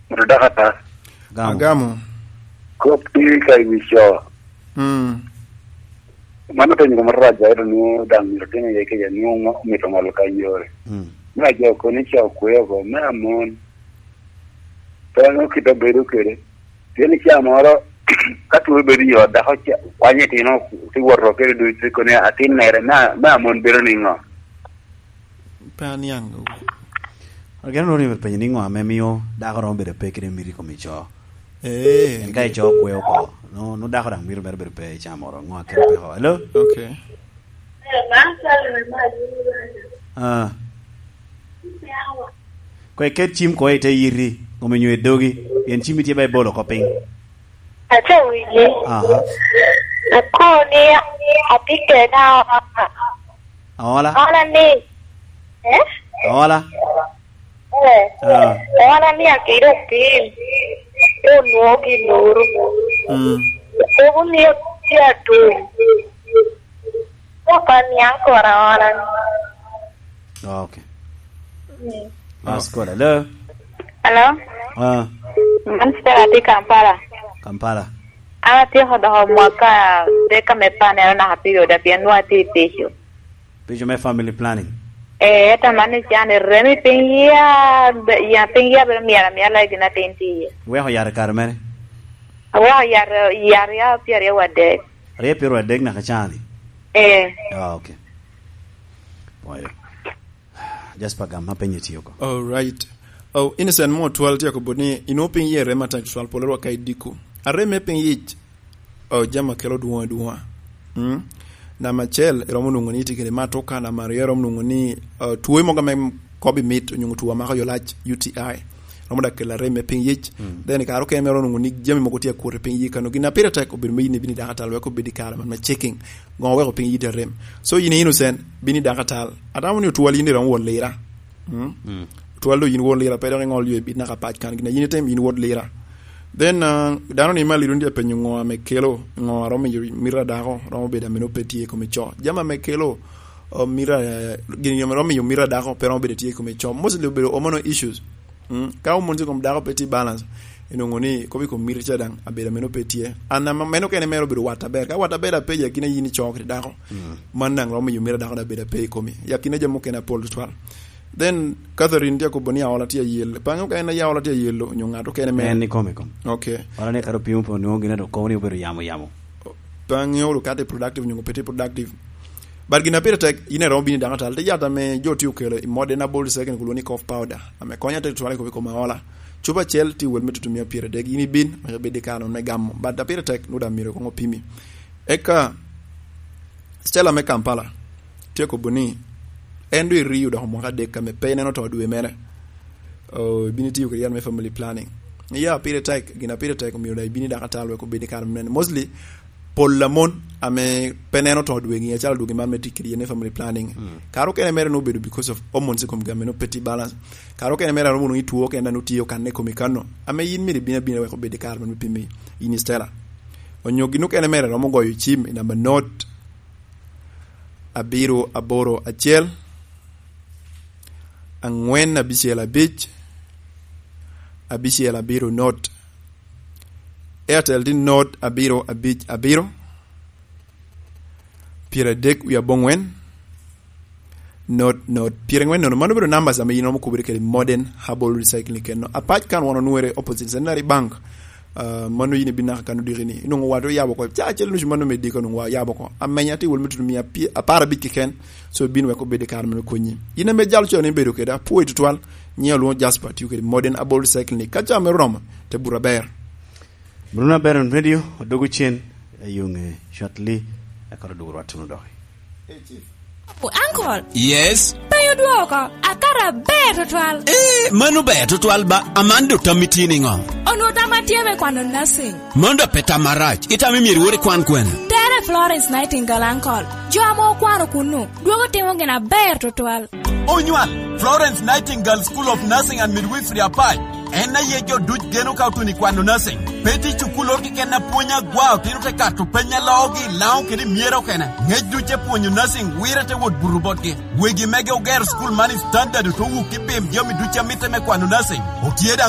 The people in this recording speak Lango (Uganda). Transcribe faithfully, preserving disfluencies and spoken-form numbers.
Moto dok ata. Agamo. Agamo. Kop tye ka i wi co. Mm. Mano penyo koma rac, ento nwoŋo daŋ myero otime iye kec, nwoŋo omito ŋolo ka yore. Mm. Me ajo kono ico kwe oko, me amon. Pe nwoŋo kite obedo kede. Pien i caa moro, ka two bedo i ot, dako ca-, kwanyo itino, ti wot oko kede ducu, ti koni atin mere, me a-, me amon bedo niŋo? Pe aniaŋ. Ageno ni myero penyo ni ŋo ame mio dako romo bedo pe kede miti i kom ico. Eh, en ka ico kwe oko, no, no dako daŋ mito mere bedo pe i caa moro. Ŋo akelo peko? Hello? Okay. Ah. Ko iket cim ko i te yiti, kome nyo i dogi, pien cim itye ba ibolo oko piny. Ate winyi. Aha. Akoni atye kena. Aola? Aola ni. Eh? Aola? Eh. Ah. Aola ni akiro piny. Onwoŋo gin oro. Mm. Kobo ni tye atum. Papa niaŋ kora aola ni. Okay. Mm. Mas koda. Hello? Hello? Ah. Man Stella, atye Kampala. Kampala. An atyeko doko mwaka adek ame panera naka pi oda, pien nwoŋo atye i pico. Pico me family planning? Eh, ento man ni can iremi piny ya, be-, ya piny ya bedo myero amyala i gin atin tye iye. Iweko yat i kare mere? Aweko yat, yat ya pyeraryo wadek. Aryo pyeraryo adek naka cani? Eh. Ah, okay. Pwoyo. Jasper, gam ma penye tye oko. All right. Oh, Innocent mo twal tye akobo ni, inwoŋo piny yie rem atek twal, polo rwak ka idiko. Arem me piny yic, oh, jami akelo dwoŋ adwoŋa. Mm? Namba acel, iromo nwoŋo ni itye kede matoka, namba aryo, iromo nwoŋo ni, oh, two mogo ame kobo mit, onyo two amako yo lac, U T I. Romo dak kelo arem me piny yic. Mm. Then i kare okene iromo nwoŋo ni jami mogo tye akwot i piny yic kano. Gin a pire tek obedo me yin ibino i dakatal wek obed i kare man me checking. Ŋo weko piny yic arem. So yin i Innocent, bino i dakatal. Atamo ni otwal yin iromo wot lira. Mm? Mm. Twal do yin wot lira, pe dok iŋol yo ibit naka pac kan. Gin a yin itimo yin wot lira. Then, uh, dano ni ma liro ni apenyo ŋo ame kelo, ŋo a romo miyo mito a dako, romo bedo ameno pe tye i kome co. Jami ame kelo, uh, mito, uh, gin ame romo miyo mito a dako, pe romo bedo tye i kome co. Mostly obedo hormonal issues. Mm, ka hormones i kom dako pe tye balance, inwoŋo ni kop i kom miti ca daŋ abedo ameno pe tye. An ama meno kene mere obedo wat aber. Ka wat aber ape i akina yin ico kede dako, mm, man daŋ romo miyo miti a dako daŋ bedo ape i komi. I akina jami mukene apol tutwal. Then Catherine tye akobo ni aola tye ayel. Pange okene ya aola tye ayelo, onyo ŋat okene mere. En i kom i kom. Okay. Wala ni kare opimo pe onwoŋo gin a dok kobo ni obedo yamo yamo. Pe aŋeo wunu ka tye productive onyo pe tye productive. But gin a pire tek, yin iromo bino i dakatal, te yat ame jo tye okelo i modern herbal second kulwo ni cough powder, ame konyo atek tutwal i kop i kom aola. Cupa acel tye wel me tutumia pyeradek, yin ibin, wek ibed i kare me gamo. But a pire tek, nwoŋo daŋ myero koŋ opimi. Eka, Stella me Kampala, tye akobo ni, en doŋ erio doko mwaka adek ame pe ineno to dwe mere. Oh, ibino itiyo kede yat me family planning. Ya, pire tek, gin a pire tek, omyero daŋ ibino i dakatal wek obed i kare me neno. Mostly, pol a mon ame pe neno to dwegi, acalo dwegi man me tic kede yat me family planning. Mm. Kare okene mere nwoŋo obedo because of hormones i komgi ame nwoŋo pe tye balance. Kare okene mere nwoŋo nwoŋo itwo okene nwoŋo tye okanne i komi kano. Ame yin myero ibin abina wek obed i kare man me pimi yin i Stella. Onyo gin okene mere romo goyo cim i namba not abiro aboro acel, angwen abicel abic, abicel abiro not. Airtel tye not abiro abic abiro, pyeradek wie abongwen, not, not, pyerangwen nono. Mano obedo numbers ame yin iromo kubere kede modern herbal recycling keno. Apac kan wan onwere opposite Centenary Bank. Ah, mano yin ibin naka kan odiki ni. Inwoŋo wat oyabo oko. Ca acel nucu mano me diko nwoŋo wa oyabo oko. Amenya tye wel me tutumia pye-, apar abic keken. So, bin wek obed i kare me konyi. Yin ame jal con ibedo kede, apwoyi tutwal. Nyiŋa olwoŋo Jasper, tiyo kede modern herbal recycling. Ka ca mere oromo, te buto aber. Bruno Baron Radio, odwogo cen, i yo ŋe shortly, eka odwogo rwat tuno doki. Uncle. Yes. Penyo dwoko, akato aber tutwal. Eh, mano ber tutwal ba, aman do tammi tye niŋo? Onwoŋo tamma tye me kwano nursing. Mano do pe tam marac, itamo myero iwot ikwan kwene? Tere Florence Nightingale, uncle. Jo ame okwano kunnu, dwogo timo gin aber tutwal. Onywal, Florence Nightingale School of Nursing and Midwifery Apac. En aye jo duc geno ka otun i kwano nursing. Pe tye cukul oro keken a pwony agwa, otino te kato peny a loogi, Laŋo kede i myero okene. Ŋec duc e pwonyo nursing, wire te wot buto botgi. Wegi mege ogero cukul man i standard, oto wuk i pim jami duc a mitte me kwano nursing. Otye daŋ